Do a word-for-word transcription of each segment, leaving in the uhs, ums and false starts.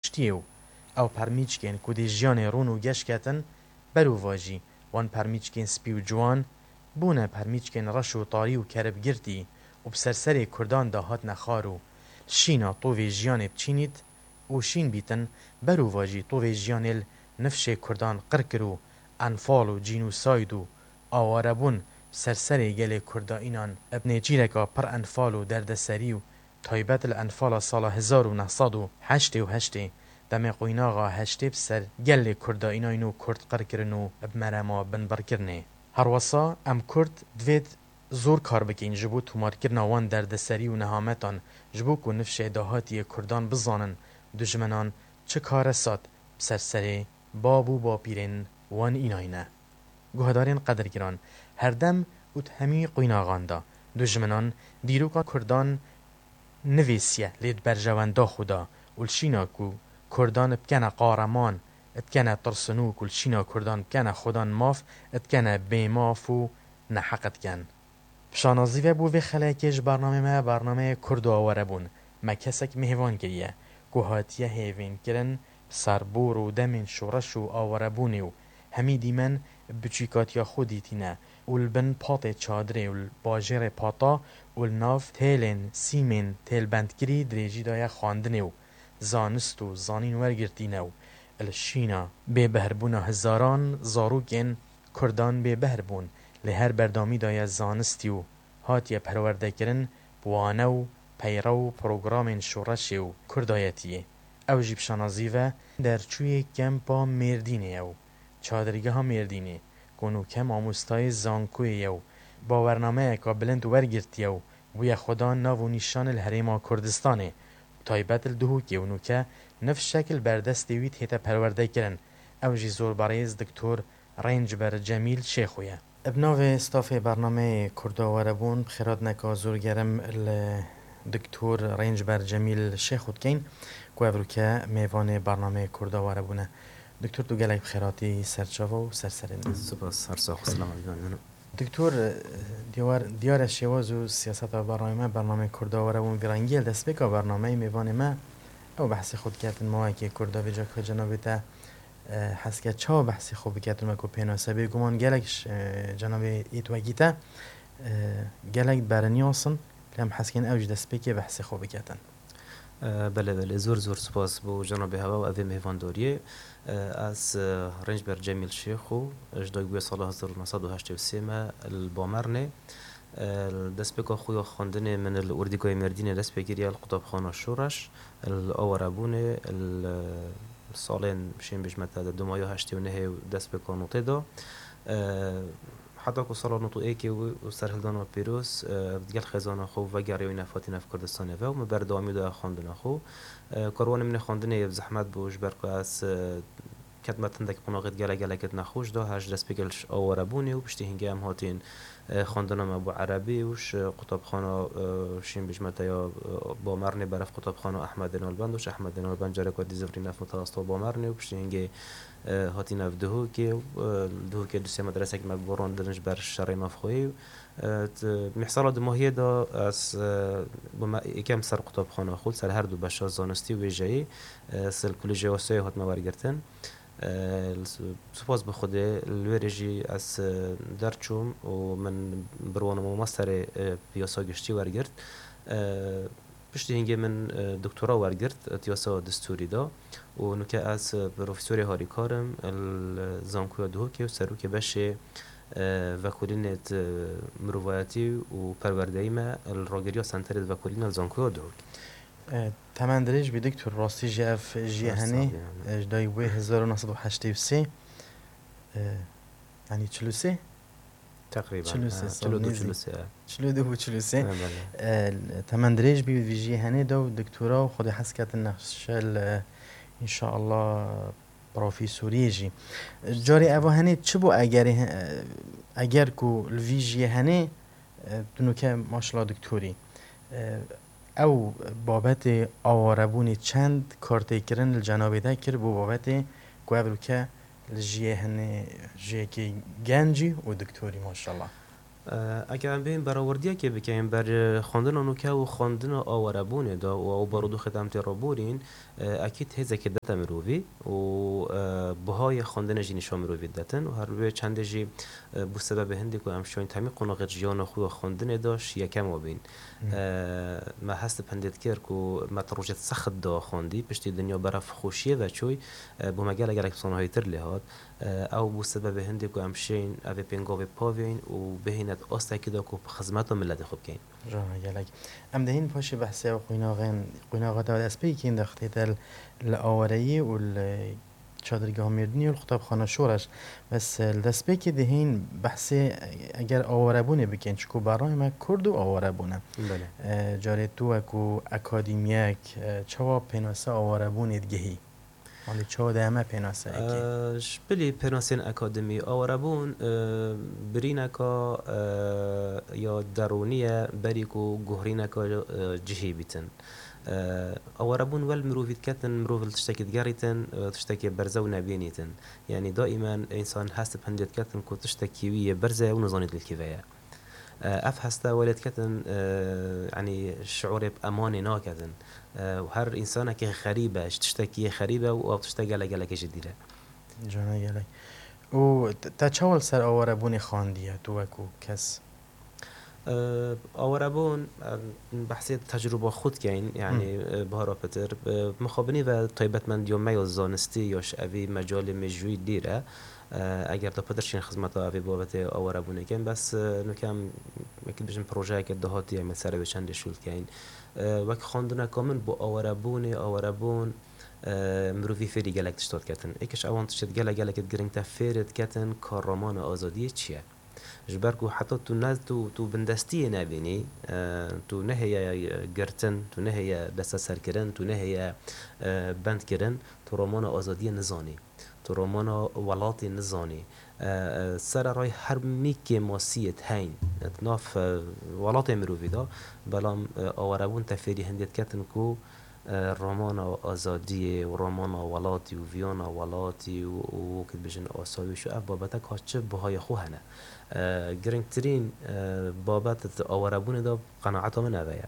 Piştiyê û ew permîçkên ku dê jiyanê rûn û geş ketin, berûvajî wan permîçkên spî û ciwan bûne permîçkên reş û tarî û keribgirtî û bi ser serê Kurdan de hatine xar û li şîna tovê jiyanê biçînît û şîn bîtin, berûvajî tovê jiyanê li nifşê Kurdan qir kir û enfal û cînûsayd û awarebûn bi ser serê gelê Kurda înan bi nêçîreka pir enfal û derdeserî û taybet li enfala sala hezar û neh sed û heştê û heştê demê qoynaxa heştê bi ser gelê Kurda înayn û Kurd qir kirin û bi merema binbir kirinê. Herwesa em Kurd divêt zor kar bikeyn ji bo tomarkirina wan derdeserî û nehametan, ji bo ku nifşê dahatiyê Kurdan bizanin, dujmenan çi karesat bi ser serê bab û bapîrên wan înayn e. Guhdarên qedirgiran, herdem û di hemî qoynaxan de, dujmenan dîroka Kurdan nivîsiye, lê di berjewenda xwe de û li şîna ku Kurdan bikene qareman, dikene tirsinok û li şîna Kurdan bikene xwedan maf, dikene bêmaf û neheq dikin. Bi şanazî ve bo vê xelekê ji bernameyê me, bernameyê Kurd û Awarebûn, me kesek mêvan kiriye ku hatiye hêvînkirin bi ser bor û demên şoreş û awarebûnê û hemî dîmen bi biçûkatiya xwe dîtîne û li bin patê çadirê û li bajêrê Pata û li nav têlên sîmên têlbendkirî dirêjî daye xwendinê û zanist û zanîn wergirtîne û li şîna bêbehrbûna hezaran zarokên Kurdan bêbehr bûn, lê her berdamî daye zanistî û hatiye perwerdekirin bi wane û peyrew û programên şoreşê û kurdayetiyê. Ew jî bi şanazî ve derçûyê kempa Mêrdînê ye û çadirgeha Mêrdînê, ku nûke mamostayê zankoyê ye û bawernameyeka bilind wergirtiye û bûye xwedan nav û nîşan li herêma Kurdistanê, taybet li Duhokê û nûke nifşek li ber destê wî tête perwerdekirin. Ew jî zorberêz Doktor Rêncber Cemîl Şêxo ye. Bi navê stafê bernameyê Kurda Werebûn bi xêrhatineka zor germ li Doktor Rêncber Cemîl Şêxo dikeyn ku evroke mêvanê bernameyê Kurda Werebûn e. Doktor, tu gelek bi xêr hatî ser çava û ser serê me. Spas, her sax û selamet. Doktor, diyar, diyar e şêwaz û siyaseta bernameyê me, bernameyê Kurda Werebûn vî rengî ye. Li destpêka bernameyê mêvanê me ew behsê xwe diketin, mawekê Kurda vê caka cenabê te e, hez ke çawa behsê xwe biketin weko pênase. Bêguman gelek ji, e, cenabê êt wekî te, e, gelek beriniyasin, lê em hez kên ew ji destpêkê behsê xwe biketin. E, belê, belê. Zor, zor spas bo cenabê heva û evê mêvandoriyê. E, ez, e, Rêncber Cemîl Şêxo, ji dayikbûyê sala hezar û neh sed û heştê û sê me li Bamernê. Li destpêka xwe ya xwendinê min li Ordîgayê Mêrdînê dest pê kiriye, li qutabxana Şoreş, li Awarebûnê, li salên şên bêjme te de dumaya heştê û nehê û destpêka notê da. Heta ku sala nod û êkê û serhildana pîroz, digel xêzana xwe vegeriyayî nav hatî nav Kurdistanê ve û min berdewamî daye xwendina xwe. Karwanê min ê xwendinê bi zehmet bû, ji ber ku ez, ketime tindek qonaxê gelek gelek nexweş da, her ji destpêkê li Awarebûnê û piştî hingê em hatîn, e, xwendina me bû erebî û ji qutabxana, e, şên bêjme te ya, e, Bamernê berev qutabxana Ehmedê Nalbend û ji Ehmedê Nalbend careka dî zivirî nav Mitewesita Bamernê û piştî hingê, e, hatî nav Duhokê û, e, li Duhokê du sê medresek me guherandin ji ber şerê navxweyî û, e, t-, mîhsala dumahiyê de ez, e, bûme yekem ser qutabxana xwe, ser her du beşa zanistî û wêjeyî, e, ser Kolîjê Osloyê hatime wergirtin. E, li s-, spas bi Xwedê, li wê rê jî ez, e, derçûm û min bi wana mamosterê, e, bi yasa giştî wergirt. E, piştî hingê min, e, doktora wergirt, e, di yasa destûrî de û nuke ez, e, profesorê harîkar im, e, li Zankoya Duhokê û serokê beşê, e, vekolînê di mirovayetî û perwerdeyî me, e, li ragiriya senterê di vekolîna li Zankoya Duhokê. E, temen dirêj bî, doktor, rastî jî ev jiyê henê, e, ji dayî bûyê hezar û neh sed û heştê û sê, e, yanî çil û sê? Teqrîben, çil û sê e, sal çil û du, nêzî. Çil û sê, e. Çil û du bû çil û sê. E, belê. E, temen dirêj bî vî jiyê henê de û doktora û xwedî hez ketin nexşe li, înşallah, profesoriyê jî. Carê eva henê çi bû egerê he-, eger ku li vî jiyê henê, e, tu nuke maşallah doktorî. E, ew babetê awarebûnê çend kartêkirin li cenabê te kir bo babetê ku ev ruke li jiyê henê jiyekê gencî û doktorî maşallah. E, eger em bêjin berawerdiyekê bikeyin ber, e, xwendina nûke û xwendina awarebûnê de û ew barodoxê de em tê re borîn, e, ekîd hêzekê dete mirovî û, e, bihayê xwendinê jî nîşa mirovî detin û her wê çendê jî, e, bû sebebê hindê ku em şoyên temî qonaxê jiyana xwe ya xwendinê de ji yekem a bîn. Hmm. E, me hest bi hindê dikir ku me di rojê sext de xwendî, piştî dinya beref xweşiyê ve çûy, e, bo me gelek gelek bi sanahîtir lê hat. E, ew bû sebebê hindê ku em şên evê pêngavê pavên û bihîne di astekî de ku bi xizmeta miletê xwe bikeyn. Jana gelek. Em dê hîn paşê behsê ew qûnaxên, qûnaxa te destpêkî kirin de xitê te li awareyî û li çadirgeha Mêrdinî û li qutabxana Şoreş. Bes, e, li destpêkê dê hîn behsê, e, eger awarebûnê bikin, çiku berayê me Kurd û awarebûn e. Belê. E, carê tu wekû akademiyek, e, çawa pênase awarebûnê digihî? Malê çawa dayeme pênaseyekê? E, ji bilî pênasên akademî, awarebûn, e, birîneka, e, ya derûnî ye, berî ku guhrîneka, e, cihî bîtin. E, awarebûn wel mirovî diketin, mirov li tiştekî digerîtin, e, tiştekê berze û nebînîtin. Yanî daimen însan hest bi hindê diketin ku tiştekî wî yê berze ye û nizanît li kî ve ye. E, ev heste welê diketin, e, yanî şiûrê bi emanê naketin. E, û her însanekî xerîb e, ji tiştekî yê xerîb e û ew tişte gelek gelekê ji dîr e. Cana gelek. Û te, te çawa li ser awarebûnê xandiye, tu wekû kes? E, awarebûn, e, behsê tecrûba xwe dikeyn, yanî, Hmm. e, Bahara Pitir, e, mixabinî ve taybetmendiya me ya zanistî ya ji evî mecalê mêjûyî dîr e. E, eger da pitir şîn xizmeta evê babetê awarebûnê kin, bes, e, nuke em, wekî bijin projeyeke dahatî em ê ser wê çendê şûl keyn. E, wek xwendineka min bo awarebûnê, awarebûn, e, mirovî fêrî gelek tişta diketin. Êkiş ewan tiştê gelek gelekê giring te fêrê diketin ka ramana azadiyê çi ye. Ji ber ku heta tu ne, tu, tu bindestiyê nebînî, e, tu nehêye, e, girtin, tu nehêye desteserkirin, tu nehêye, e, bendkirin, tu romana azadiyê nizanî. Tu romana welatê nizanî. E, e, sererayî her mî kêmasiyê heyn di nav, e, welatê mirovî de, belam, e, awarebûn te fêrî hindê diketin ku, e, romana azadiyê û romana welatî û viyana welatî û, û wekî dibêjin asayîş û ev babetek ha çi bihayê xwe hene. E, giringtirîn, e, babet di awarebûnê de qenaeta min ev e.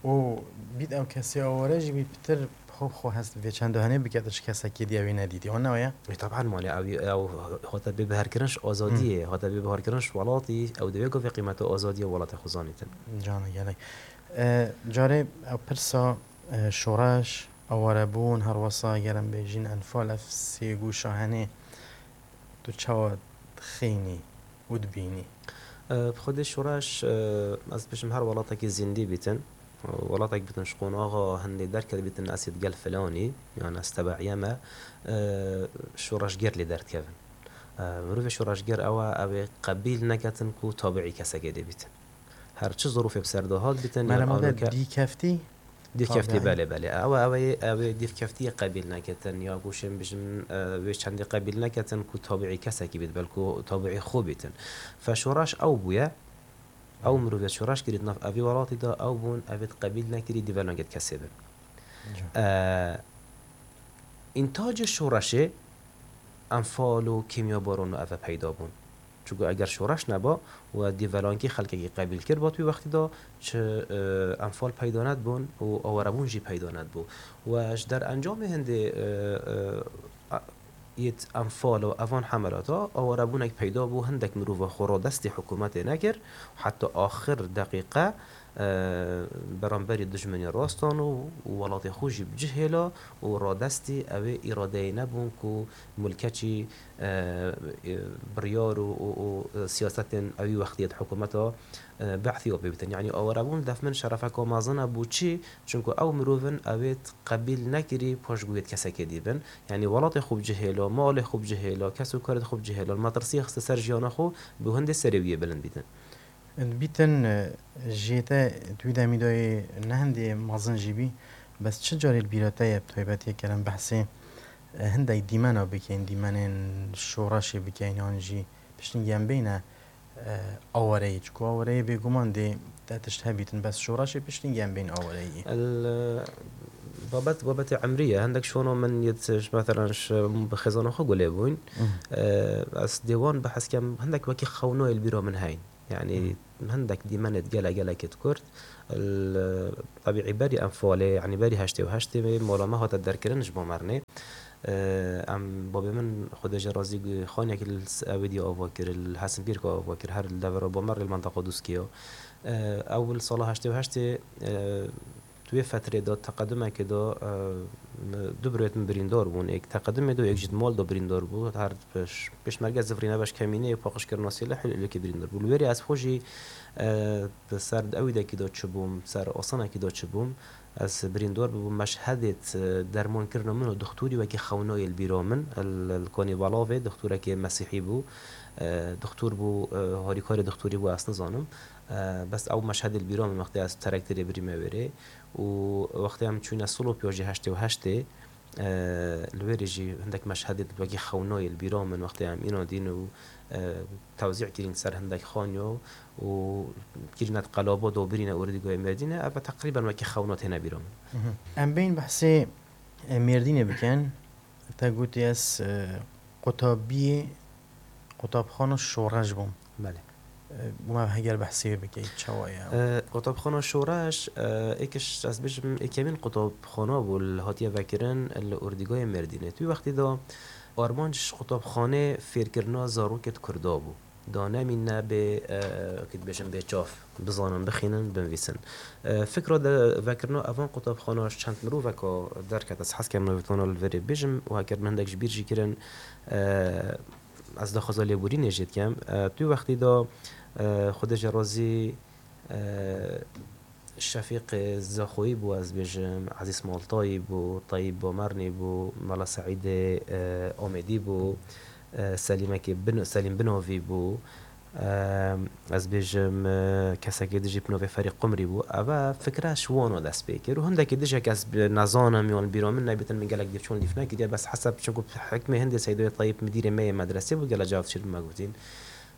Û bît ew kesê aware jî bî pitir xwe bi xwe hest vê çend hanê bike tu ji kesekî dî ew ê nedîtî. Wan ne weye? E, taban malê ew, ew hate bê biharkirin ji azadiyê, Hmm. hate bê biharkirin ji welatî, ew divê ku vê qîmeta azadiyê welatê xwe zanîtin. Cana gelek. E, carê ew pirsa E, şoreş, awarebûn, herwesa ger em bêjin enfal, ev sê goşa henê tu çawa dixînî û dibînî? E, bi xwedê şoreş, e, ez dibêjim her welatekî zîndî bîtin. Welatek bîtin ji qonaxa hindê derket bîtin, ez ê di gel filanî, yan ez tebeîye me, e, şoreşger lê derdikevin. E, mirovê şoreşger ew e, ew ê qebîl neketin ku tabiî kesekê dê bîtin. Her çi zirûfê bi ser de hat bîtin, yan Merema de avroke dîkeftî? Dîvkeftî, Tabiî. Belê, belê. Ew, ew ê, ew ê dîvkeftiyê qebîl neketin, ya ku şên bijim, e, wê çendê qebîl neketin ku tabiî kesekî bît, belku tabiî xwe bîtin. Fe şoreş ew bûye, ew mirovê şoreş kirî di nav evî welatî de, ew bûn, ev ê qebîl nekirî, dîvelangê kesê bin. Ca. E, întacê şoreşê enfal û kîmyabaran û eve peyda bûn. Çunku eger şoreş neba û dîvelankî xelkekî qebîl kir, bat wî wextî de çi, e, enfal peyda nedibûn û awarebûn jî peyda nedibû. Û ji derencamê hindê, e, e, a, yêt enfal û evan hemelata awarebûnek peyda bû, hindek mirova xwe radestî hikûmetê nekir, heta axir deqîqe e, beramberî dijminê rastan û, û welatê xwe jî bi cih hêla û radestî ew ê îradeyê nebûn ku mulkeçî, e, e, biryar û, û, û, e, siyasetên ewî wextiyê di hikûmeta, e, Be'sî ya pê bitin. Yanî awarebûn def min şerefeka mezin e bo çi? Çunku ew mirovin ew ê qebîl nekirî paşguhê kesekê dî bin. Yanî welatê xwe bi cih hêla, malê xwe bi cih hêla, kes û karê xwe bi cih hêla, metirsiyê xiste ser jiyana xwe bo hindê serê wî yê bilind bîtin. Dibîtin, e, jê te di wî demî de yê ne hindê mezin jî bî, bes çi carê li bîra te ye bi taybetî ker em behsê, e, hindek dîmena bikeyn, dîmenên şoreşê bikeyn, yan jî piştî em bêne, e, awareyî. Çiku awareyê bêguman dê te tişt hebîtin, bes şoreşê piştî em bên awareyî. El, e, babet, babetê emrî ye. Hindek şono min yê, mesela, ji, bi xêzana xwe gulê bûn. Mhm. E, ez dê wan behs kem, hindek wekî xewnayê li bîra min heyn. Yanî hindek dîmenê gelek gelekê kurt. Tebîî berî enfalê, yanî berî heştê û heştê mala me hate derkirin ji bo mernê. Em babê min Xwedê jê razî xaniyekî li Ewêdî ava kir, li Hesinpîrka ava kir, her li devera Bamerlê li menteqa Dûskiya. Ew li sala heştê û heştê Di wê fetrê de, teqedimekê de, e, du birêt min birîndar bûn. Êk teqedimê de, êk jî di mal de birîndar bû. Her pêş-, pêşmerge zivrîne beş kemîneyê paqijkirina sêlehê li Êlihê birîndar bû. Li wêrê ez xwe jî, e, di ser di ewîdekî de çi bûm, ser asanekî de çi bûm, ez birîndar bibûm. Meşhedê, e, dermankirina min û dixtorî wekî xewnayê li bîra min. Li, li Kanê Belavê dixtorekê mesîhî bû. E, dixtor bû, e, harîkarê dixtorî bû, ez nizanim. E, bes ew meşhedê li bîra min wextê ez terekterê birîme wêrê. Û wextê em çûne Silopya jî heştê û heştê, e, li wêrê jî hindek meşhedê wekî xewnayê li bîra min wextê em îna dîn û, e, tewzî kirîn ser hindek xaniyo û kirîne di qelaba de û birîne Ordîgayê Mêrdînê, ev teqrîben wekî xewna têne bîra min. Mhm. Em bên behsê, e, Mêrdînê bikin. Te gotî ez, e, qutabiyê, qutabxana Şoreş bûm. Belê. E, bûma heger behsê wê bike, çawa ye? E, qutabxana Şoreş, e, êkiş ez bêjim, êkemîn qutabxana bû, li hatiye vekirin li Ordîgayê Mêrdînê. Tu wextî de armanc ji qutabxanê fêrkirina zarokê di Kurda bû. Da nemîne bê, e, kî dibêjin bê çav, bizanin, bixînin, binivîsin. E, fikra de vekirina evan qutabxana ji çend miroveka derket, ez hez kem navê tana li verê bêjim û heger min hindek ji bîr jî kirin, e, ez daxwaza lêborînê jê dikem. E, tu wextî de, e, Xwedê jê razî, e, Şefîq Zexoyî bû, ez bêjim, Ezîz Maltayî bû, Teyîb Bomernî bû, Mela Seîdê, e, Amêdî bû, e, Selîmekî Bin-, Selîm Binovî bû, e, ez bêjim, e, kesekê dijî Pinovê Ferî Qumrî bû. Eve fikre ji wana dest pê kir û hindekî dijek ez bi-, nezanim yan li bîra min nebîtin, min gelek dîv çûn dîv nekiriye, bes hesab çunku hikmê hindê Seydoyê Teyîb midîrê me yê medresê bû, gele cav şir me gotîn.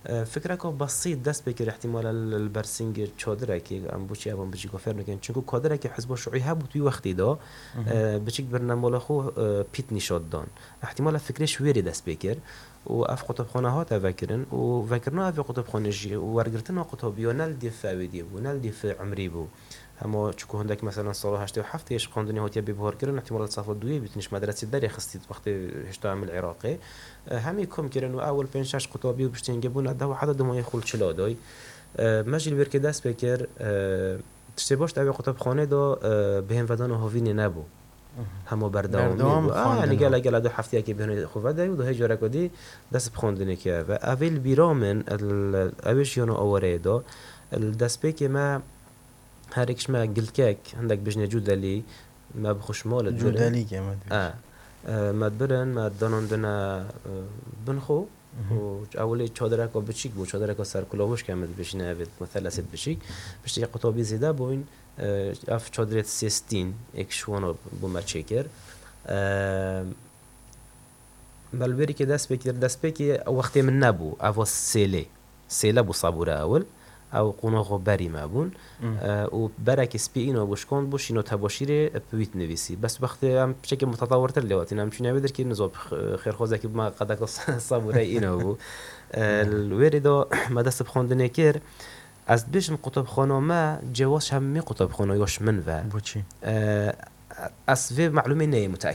E, fikreka besît dest pê kir, ihtimala li, li ber singê çadirekê, em boçî evan bijî gofer nekin. Çunku kadirekê Hizba Şuî hebû tu wextî de, Mhm. e, biçik birine mala xwe, e, pît nîşa didan. Ihtimala fikrê ji wêrê dest pê kir û ev qutabxane hate vekirin û vekirina ev qutabxane jî û wergirtina qutabiya ne li dîf ewêdiyê bû, ne li dîf umrî bû. Hema çiku hindek, mesela, sala heştê û heftê ji xwendinê hatiye bêbuharkirin, ihtimala li safa duyê bîtin ji medresê derê xistî wextê hêşta em li Iraqê. E, hemî kom kirin û ewil pênc şeş qutabî û piştî hingê bûne deh û heta dimayê xwe li çila doy. E, me jî li wêrkê dest pê kir, e, tiştê baş di evê qutabxanê de, e, bihênvedana hovînê nebû. Mhm. Hema berdewamî Berdewam bû. Ah, xwendin yanî bû. Gele gele du hefteyekê bihênê xwe vedey û duhê careka dî dest bi xwendinê kir. Ve evê li bîra min, el-, ew ê jiyana awareyê de, li destpêkê me her êk ji me gilkek, hindek bijnê cûdelî, me bi xwe ji malê dibirin. Cûdelî ke me dibêjin. E, e, me dibirin, me danandine, e, bin xwe. Mhm. Û ewilê çadireka biçîk bû, çadireka serkulavûş ke me dibêjine evê, meselesê biçîk. Piştî qutabî zêde bûyn, e, ev çadirê sêstîn, êk ji wana bû me çêkir. E, Me li wêrîkê dest pê kir, destpêkê ew wextê min nebû, eva sêlê. Sêle bû sabûra ewil. Ew qonaxa berî me bûn. Hmm. E, û berekî spî îna bû, şikand bû, şîno tebaşîrê, e, bi wî dinivîsî. Bes wextê em piçekî mutetawirtir lê hatîn, em çûne wê derkî nizo xêrxwazekî bû me qedeka sabûreyê îna bû. E, Hmm. Li wêrê de me dest bi xwendinê kir. Ez dibêjim qutabxana me cewaz ji hemî qutabxana ya ji min ve. Boçî? E, ez vê melûmê neyê muteekid.